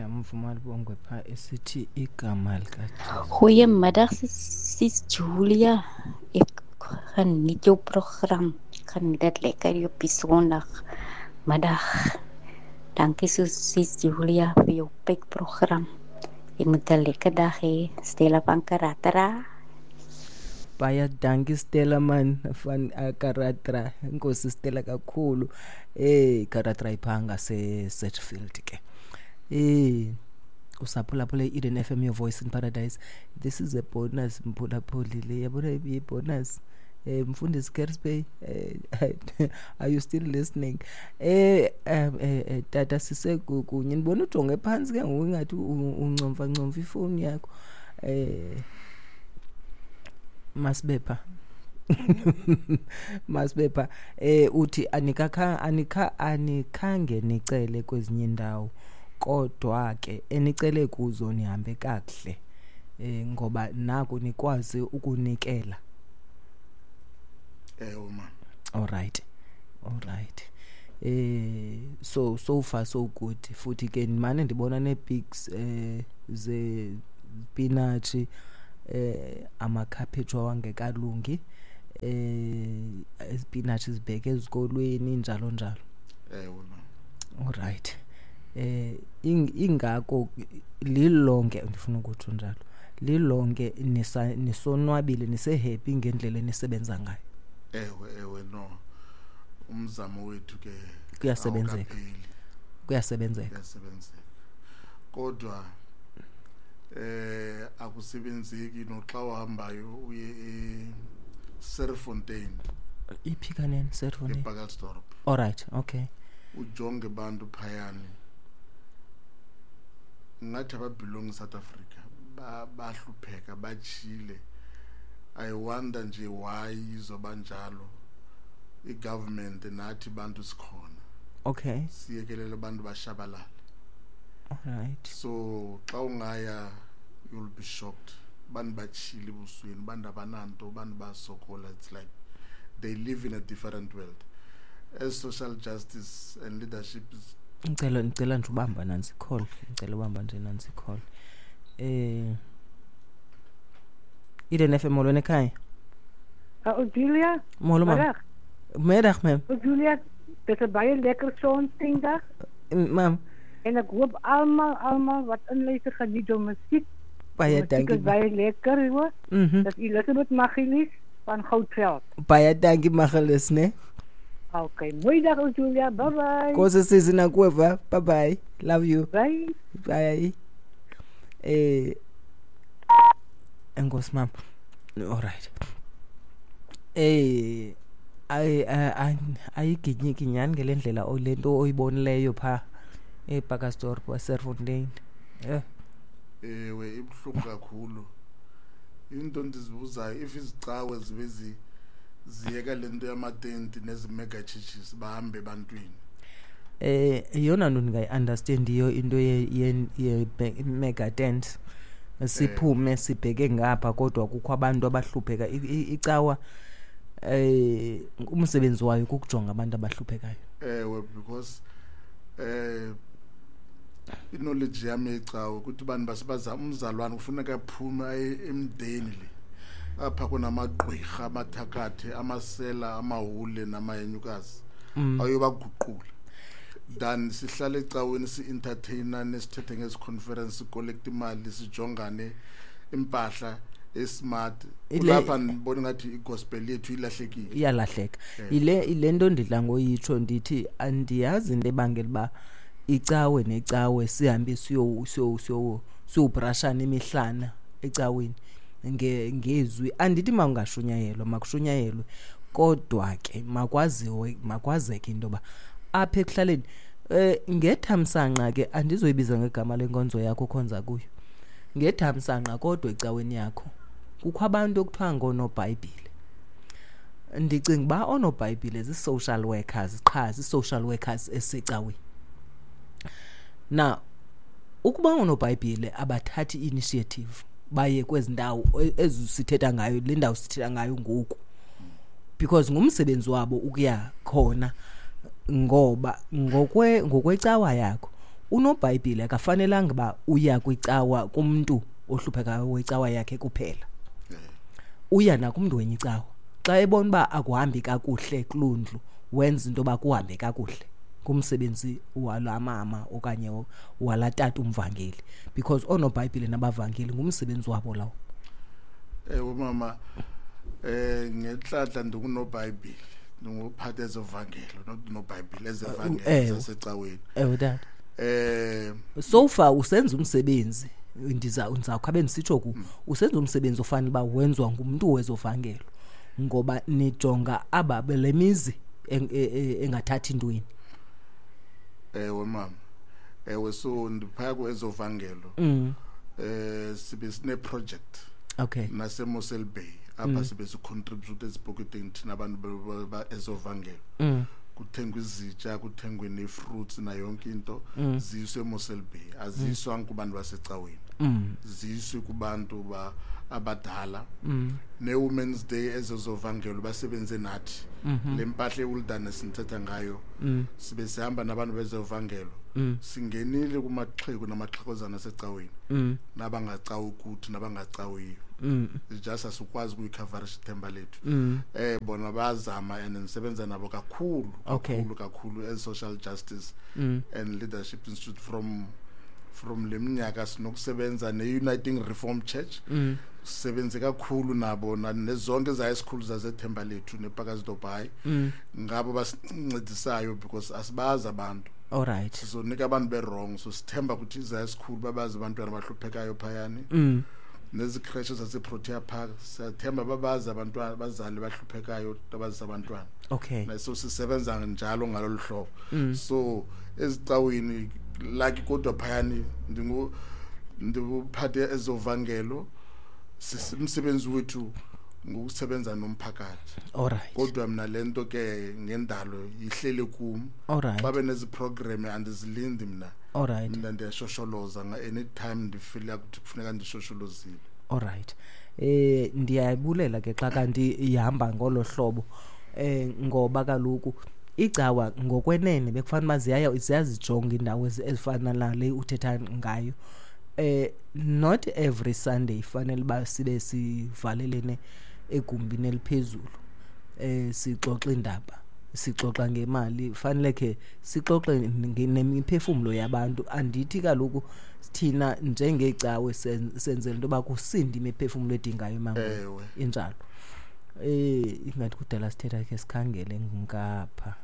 Ndiyamva uMalibongwe phaa esithi igama likaJesu. Goeiemiddag sis Julia. Ek geniet jou program. Ek geniet dit lekker hier op die Sondagmiddag. Dankie sis Julia vir jou program. Jy moet 'n lekker dag hê. Stella van Karatara. Baie dankie Stella man van Karatra. Enkosi Stella kakhulu. Karatra ipha ngase Sedgefield ke. Usaphulaphula i-Eden FM, your voice in paradise. This is a bonus, mphulaphuli le, yabona i-bonus. Mfundisi Kersbey, are you still listening? Tata sise kunye ndibona ujonge phantsi ke ngoku ingathi uncomfa ncomfa ifowuni yakho. Masibe pha. Masibe pha. Uthi anikakha anikha anikhange nicele kwezinye indawo, kodwa ke enicele kuzo nihambe kakuhle. Ngoba naku nikwazi ukunikela. Ewe ma. All right. All right. So far so good. Futhi ke ndimane ndibona nee-pics ze spinach, amakhaphetshu awangekalungi, izipinatshi zibheke ezikolweni, njalo njalo. Ewe ma. All right. Ingako lilonke ndifuna ukutsho njalo. Lilonke nisonwabile, nise-happy ngendlela enisebenza ngayo. Ewe, ewe, no. Umzamo wethu ke Kuyasebenzeka. awukapheli. Kuyasebenzeka. Kuyasebenzeka. Kodwa akusebenzeki noxa uhambayo uye e-Serfontein. Iphi kanene Serfontein? ePacaltsdorp. All right, okay. Ujonge bantu phayani. Ngathi aba-belong South Africa, bahlupheka, batshile. I wonder nje why izoba njalo. I-government nathi bantu sikhona. Siyekelele abantu bashabalale. All right. So xa ungaya you'll be shocked. Bantu batshile ebusweni, bantu abananto, bantu basokola. It's like they live in a different world. As social justice and leadership is Ngicela nje ubamba nansi call. Ngicela ubamba nje nansi call. Eden FM, molweni ekhaya. Julia? Molo ma'am. Middag. Middag ma'am. Julia, dit is 'n baie lekker Sondag. Ma'am. En ek hoop almal wat inluister geniet jou musiek. Baie Musiek dankie, is baie lekker, hoor. Dis Elizabeth Magilis van Goudveld. Baie dankie Magilis, né? Okay, mooi dag Julia. Bye bye. Nkosi sisi nakuwe. Bye bye. Love you. Bye. Bye. Enkosi ma'am. All right. Ayiginyiki nyani ngele ndlela le nto oyibonileyo pha ePacaltsdorp waseRfontein. Ewe, ibuhlungu kakhulu. Into ndizibuzayo, if izicawe zibe ziyeka le nto yamatenti nezi-mega churches, bahambe ebantwini. Yeyona nto ndingayi-understandiyo into ye mega tent. Siphume sibheke ngapha, kodwa kukho abantu abahlupheka. Icawa umsebenzi wayo kukujonga abantu abahluphekayo. Ewe, because i-knowledge yami yecawe ukuthi abantu basebaza umzalwane kufuneka aphume aye emdeni le. Apha kunamagqwirha, amathakathi, amasela, amahule namahenyukazi. Ayobaguqula. Than sihlale ecaweni si-entertainane, sithethe ngezi-conference, si-collect imali, sijongane impahla e-smart. Kulapha ndibona ngathi i-gospel yethu ilahlekile. Iyalahleka. Ile nto ndidla ngoyitsho ndithi andiyazi into ebangela uba icawe necawe sihambe siyobrashana imihlana ecaweni ngezwi. Andithi makungashunyayelwa, makushunyayelwe, kodwa ke makwazeke into yoba apha ekuhlaleni ngethamsanqa ke andizoyibiza ngegama lenkonzo yakho okhonza kuyo. Ngethamsanqa kodwa ecaweni yakho kukho abantu ekuthiwa ngoonoBhayibhile. Ndicinga uba oonoBhayibhile zii-social workers qha, zii-social workers esecaweni. Na ukuba oonoBhayibhile abathathi initiative baye kwezi ndawo ezi sithetha ngayo, le ndawo sithetha ngayo ngoku, because ngumsebenzi wabo ukuya khona, ngoba ngokwecawa yakho Unobhayibhile akafanelanga uba uya kwicawa kumntu ohluphekayo wecawa yakhe kuphela, uya nakumntu wenye icawa. Xa ebona uba akuhambi kakuhle kuloo ndlu, wenza into yoba kuhambe kakuhle ngumsebenzi walaa mama okanye walaa tata umvangeli, because oonobhayibhile nabavangeli ngumsebenzi wabo lawo. Ewe mama, ngenhlanhla ndingunobhayibhile, ndinguphatha ezovangelo, not nobhayibhile ezevangelo zasecaweni. Ewe tata. So far usenza umsebenzi, ndizawukhabe ndisitsho ku usenza umsebenzi ofanele uba wenziwa ngumntu wezovangelo, ngoba nijonga aba le mizi engathathi ntweni. Ewe mama, ewe, so ndiphaya kwezovangelo. Sibe sine project. Nase Mossel Bay apha sibe sicontribute ezipoketeni thina abantu ezovangelo. Kuthengwe izitya, kuthengwe nee-fruits nayo yonke into, ziyiswe eMossel Bay. Aziyiswanga kubantu basecaweni, ziyiswe kubantu abadala. Ne-Women's Day ezezovangelo basebenze nathi. Le mpahla ewilderness ndithetha ngayo, sibe sihamba nabantu bezovangelo. Singenile kumaxhego namaxhegozana asecaweni, nabangacawi kuthi nabangacawiyo. It's just asikwazi ukuyicoverisha ithemba lethu. Bona bayazama and ndisebenza nabo kakhulu, kakhulu kakhulu as Social Justice and Leadership Institute. From le minyaka sinokusebenza ne-Uniting Reform Church, sisebenze kakhulu nabo nezonke high school zaseThemba Lethu nePacaltsdorp High. Ngabo basincedisayo because asibazi abantu. All right. Sizonika abantu be-wrong, so sithemba ukuthi izi-high school babazi abantwana abahluphekayo phayani. Nezikreshe zaseProtea Park, siyathemba babazi abantwana, abazali bahluphekayo abazisa abantwana. So sisebenza njalo ngalolu hlobo. So ezicaweni like kodwa phayani ndinguphathe ezovangelo. Umsebenzi wethu ngokusebenza nomphakathi. All right. Kodwa mina lento ke ngendalo ihlele kum. All right. Babe nezi program andizilindi mina. All right. Mina ndiyashosholoza nga anytime ndifeel ukuthi kufuneka ndishosholozile. All right. Ndiyabulela ke xa kanti ihamba ngolo hlobo. Ngoba kaloku icawa ngokwenene bekufanele uba ziyazijonga indawo ezifana nale uthetha ngayo. Not every Sunday fanele uba sibe sivalelene egumbini eliphezulu, sixoxa indaba, sixoxa ngemali. Fanele ke sixoxe nemiphefumlo yabantu. Andithi kaloku thina njengecawe senzela into yoba kusinde imiphefumlo edingayo emangweni. Injalo. Ingathi kudala sithetha, ke sikhangele ngapha.